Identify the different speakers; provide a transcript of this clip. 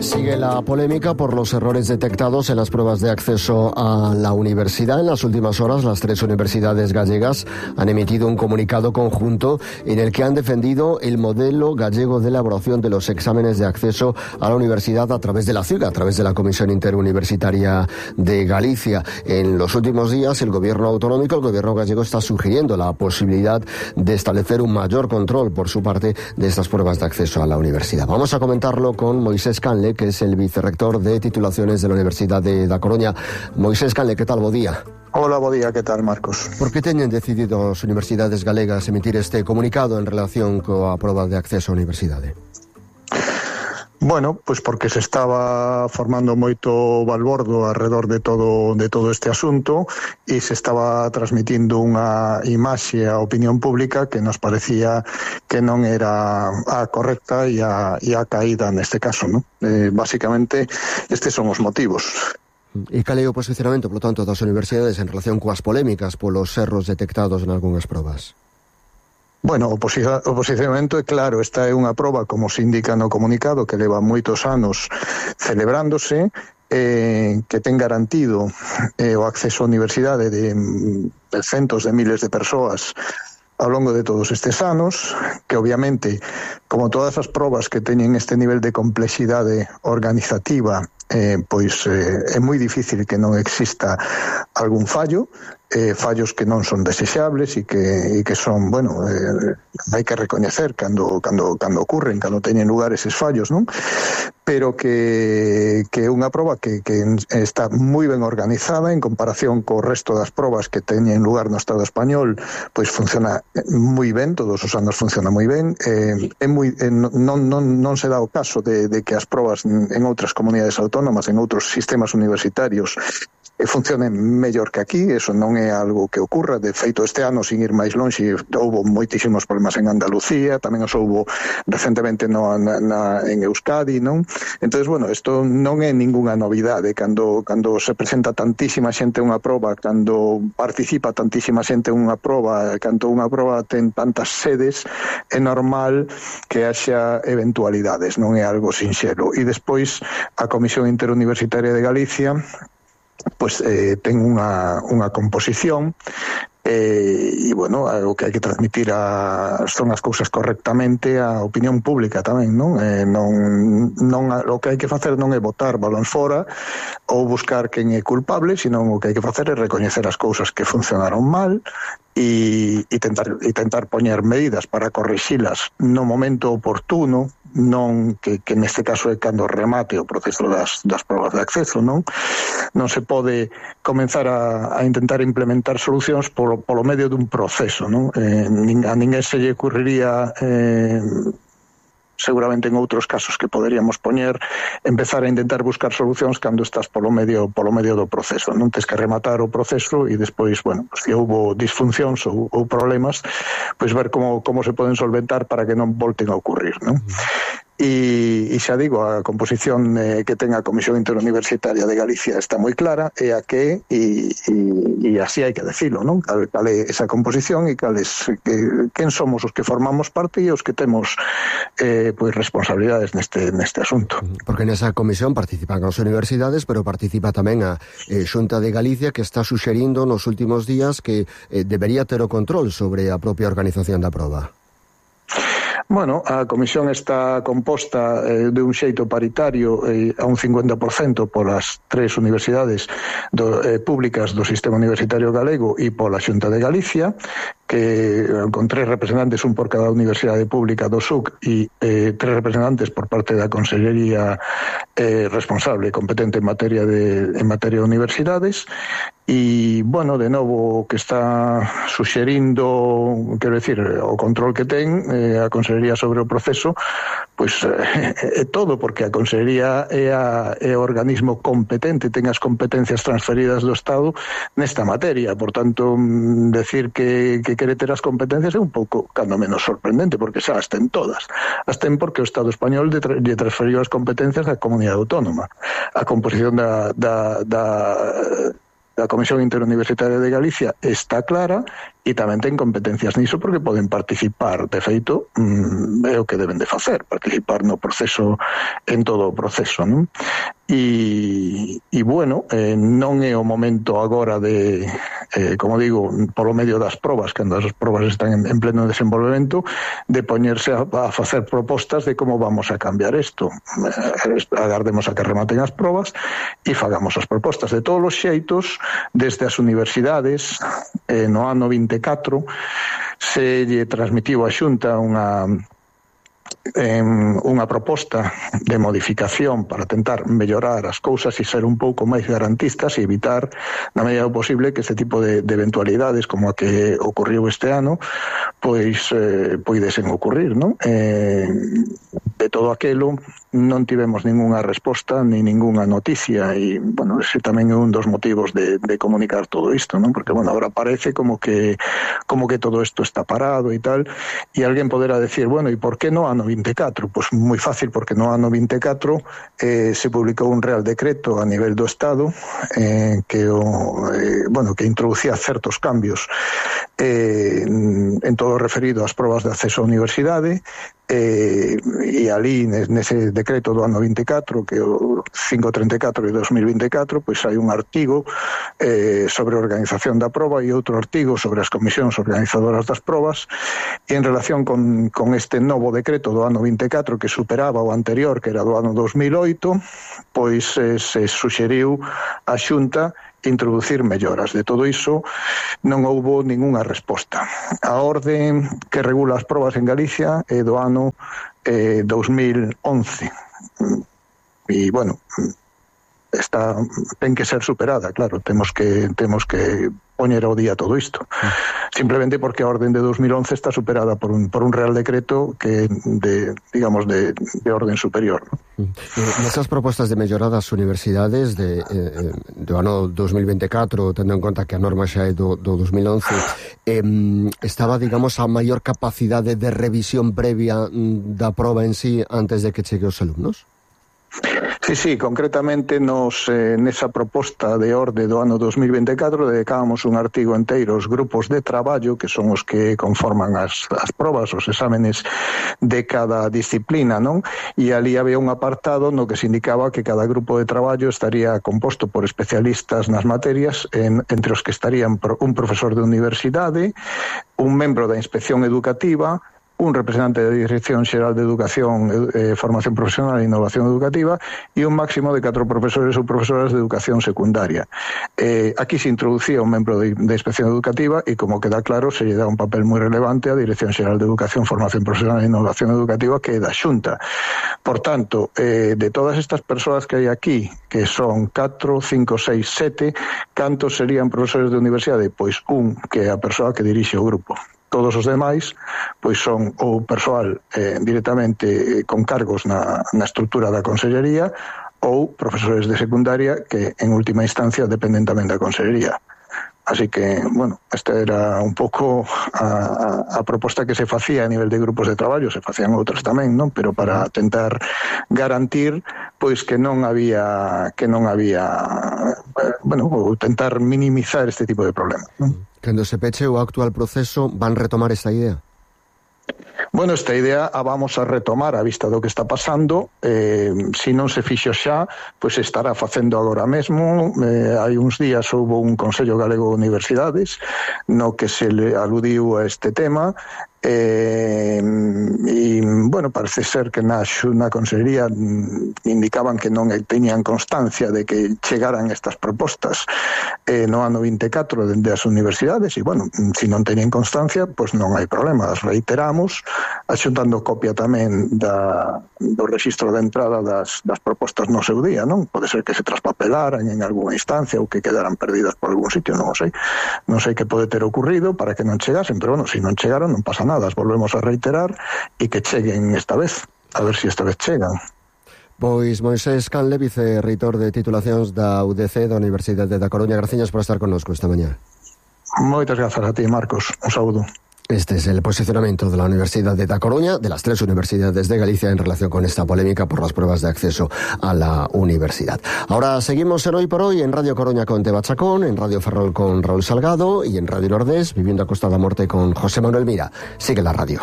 Speaker 1: Sigue la polémica por los errores detectados en las pruebas de acceso a la universidad. En las últimas horas, las 3 universidades gallegas han emitido un comunicado conjunto en el que han defendido el modelo gallego de elaboración de los exámenes de acceso a la universidad a través de la CIUG, a través de la Comisión Interuniversitaria de Galicia. En los últimos días, el gobierno autonómico, el gobierno gallego, está sugiriendo la posibilidad de establecer un mayor control por su parte de estas pruebas de acceso a la universidad. Vamos a comentarlo con Moisés Canle, que es el vicerrector de titulaciones de la Universidad de Da Coruña. Moisés Canle, que tal? Bo día.
Speaker 2: Hola, bo día, que tal, Marcos?
Speaker 1: Por que teñen decidido as universidades galegas emitir este comunicado en relación coa proba de acceso á universidade?
Speaker 2: Bueno, pois porque se estaba formando moito balbordo alrededor de todo este asunto e se estaba transmitindo unha imaxe á opinión pública que nos parecía que non era a correcta e a caída neste caso, non? Básicamente, estes son os motivos.
Speaker 1: E cal é o posicionamento, polo tanto, das universidades en relación coas polémicas polos erros detectados en algunhas probas?
Speaker 2: Bueno, o posicionamento é claro, esta é unha proba, como se indica no comunicado, que leva moitos anos celebrándose, que ten garantido o acceso á universidade de centos de miles de persoas ao longo de todos estes anos, que obviamente, como todas as probas que teñen este nivel de complexidade organizativa, pois é moi difícil que non exista algún fallo, fallos que non son desexables e que son, bueno, hai que recoñecer cando ocurren, cando teñen lugar eses fallos, non? Pero que é unha proba que está moi ben organizada en comparación co resto das probas que teñen lugar no Estado español, pois funciona moi ben, todos os anos funciona moi ben, non se dá o caso de que as probas en outras comunidades autónomas, en outros sistemas universitarios, funcionen mellor que aquí. Eso non é algo que ocurra. De feito, este ano, sin ir máis lonxe, houbo moitísimos problemas en Andalucía, tamén os houbo recentemente en Euskadi, non? Entonces, bueno, isto non é ningunha novidade. Cando se presenta tantísima xente unha proba, cando participa tantísima xente unha proba, cando unha proba ten tantas sedes, é normal que haxa eventualidades, non é algo sinxelo. E despois, a Comisión Interuniversitaria de Galicia pois ten unha composición e, bueno, o que hai que transmitir son as cousas correctamente á opinión pública tamén, non? O que hai que facer non é botar balóns fora ou buscar quen é culpable, senón o que hai que facer é recoñecer as cousas que funcionaron mal e tentar poñer medidas para corrixilas no momento oportuno, non que neste caso é cando remate o proceso das probas de acceso, non se pode comenzar a intentar implementar solucións polo medio dun proceso, non? A ninguén se lle ocurriría seguramente en outros casos que poderíamos poñer, empezar a intentar buscar solucións cando estás polo medio do proceso. Non tes que rematar o proceso e despois, bueno, se houbo disfuncións ou problemas, pois ver como se poden solventar para que non volten a ocurrir, non? E xa digo, a composición que ten a Comisión Interuniversitaria de Galicia está moi clara, é a que e así hai que decilo, non? Cal é esa composición e quen somos os que formamos parte e os que temos pois responsabilidades neste asunto.
Speaker 1: Porque nesa comisión participan as universidades, pero participa tamén a Xunta de Galicia, que está suxerindo nos últimos días que debería ter o control sobre a propia organización da proba.
Speaker 2: Bueno, a comisión está composta de un xeito paritario a un 50% polas 3 universidades públicas do sistema universitario galego e pola Xunta de Galicia, que con 3 representantes, un por cada universidade pública do SUC e 3 representantes por parte da Consellería responsable competente en materia de universidades. E, bueno, de novo, que está suxerindo, quero dicir, o control que ten a Consellería sobre o proceso, pois é todo, porque a Consellería é o organismo competente, ten as competencias transferidas do Estado nesta materia. Por tanto, decir que quere ter as competencias é un pouco, cando menos, sorprendente, porque xa as ten todas. As ten porque o Estado español lle transferiu as competencias á comunidade autónoma. A composición da Comisión Interuniversitaria de Galicia está clara e tamén ten competencias niso porque poden participar, de feito, é o que deben de facer, participar no proceso, en todo o proceso, non? E bueno, non é o momento agora de, como digo, polo medio das probas, cando as probas están en pleno desenvolvemento, de poñerse a facer propostas de como vamos a cambiar isto. Agardemos a que rematen as probas e fagamos as propostas. De todos os xeitos, desde as universidades, no ano 24, se lle transmitiu a Xunta unha proposta de modificación para tentar mellorar as cousas e ser un pouco máis garantistas e evitar, na medida do posible, que este tipo de eventualidades como a que ocurriu este ano pois poidesen ocurrir, non? De todo aquelo non tivemos ningunha resposta ni ningunha noticia e, bueno, ese tamén é un dos motivos de comunicar todo isto, non? Porque, bueno, agora parece como que todo isto está parado e tal, e alguén poderá decir, bueno, e por que no ano 24? Pois moi fácil, porque no ano 24 se publicou un Real Decreto a nivel do Estado que introducía certos cambios en todo o referido ás probas de acceso á universidade, e ali nese decreto do ano 24, que é o 534 de 2024, pois hai un artigo sobre a organización da proba e outro artigo sobre as comisións organizadoras das probas, e en relación con este novo decreto do ano 24 que superaba o anterior, que era do ano 2008, pois se suxeriu a Xunta introducir melloras. De todo iso non houbo ningunha resposta. A orde que regula as probas en Galicia é do ano 2011 e, bueno, ten que ser superada, claro, temos que poñer ao día todo isto. Simplemente porque a orden de 2011 está superada por un Real Decreto que de orden superior, ¿no?
Speaker 1: Nesas propostas de mellorar das universidades do ano 2024, tendo en conta que a norma xa é do 2011, estaba, digamos, a maior capacidade de revisión previa da proba en sí antes de que chegue os alumnos?
Speaker 2: Sí, concretamente nesa proposta de orde do ano 2024 dedicábamos un artigo enteiro aos grupos de traballo, que son os que conforman as probas, os exámenes de cada disciplina, non? E ali había un apartado no que se indicaba que cada grupo de traballo estaría composto por especialistas nas materias, entre os que estarían un profesor de universidade, un membro da Inspección Educativa, un representante da Dirección Xeral de Educación, Formación Profesional e Innovación Educativa e un máximo de 4 profesores ou profesoras de Educación Secundaria. Aquí se introducía un membro de Inspección Educativa e, como queda claro, se lle dá un papel moi relevante á Dirección Xeral de Educación, Formación Profesional e Innovación Educativa, que é da Xunta. Por tanto, de todas estas persoas que hai aquí, que son 4, 5, 6, 7, cantos serían profesores de universidade? Pois un, que é a persoa que dirixe o grupo. Todos os demais pois son ou persoal directamente con cargos na estrutura da Consellería ou profesores de secundaria que en última instancia dependen tamén da Consellería. Así que, bueno, esta era un pouco a proposta que se facía a nivel de grupos de traballo, se facían outras tamén, non? Pero para tentar garantir pois que non había ou tentar minimizar este tipo de problemas, non?
Speaker 1: Cando se peche o actual proceso, van retomar esta idea?
Speaker 2: Bueno, esta idea a vamos a retomar a vista do que está pasando. Se non se fixo xa, pois estará facendo agora mesmo. Hai uns días houve un Consello Galego de Universidades no que se le aludiu a este tema. Bueno, parece ser que na Consellería indicaban que non teñan constancia de que chegaran estas propostas no ano 24 dende as universidades e, bueno, se non teñen constancia, pois non hai problema, as reiteramos, axuntando copia tamén do rexistro de entrada das propostas no seu día, non? Pode ser que se traspapelaran en algunha instancia ou que quedaran perdidas por algún sitio, non o sei. Non sei que pode ter ocurrido para que non chegasen, pero, bueno, se non chegaron non pasa nada. As volvemos a reiterar e que cheguen esta vez, a ver se esta vez chegan.
Speaker 1: Pois Moisés Canle, vicerreitor de titulacións da UDC da Universidade da Coruña, graciñas por estar connosco esta mañá.
Speaker 2: Moitas grazas a ti, Marcos, un saúdo.
Speaker 1: Este es el posicionamiento de la Universidad de Da Coruña, de las 3 universidades de Galicia, en relación con esta polémica por las pruebas de acceso a la universidad. Ahora seguimos en Hoy por Hoy, en Radio Coruña con Teba Chacón, en Radio Ferrol con Raúl Salgado y en Radio Nordés, Viviendo a Costa da Morte con José Manuel Mira. Sigue la radio.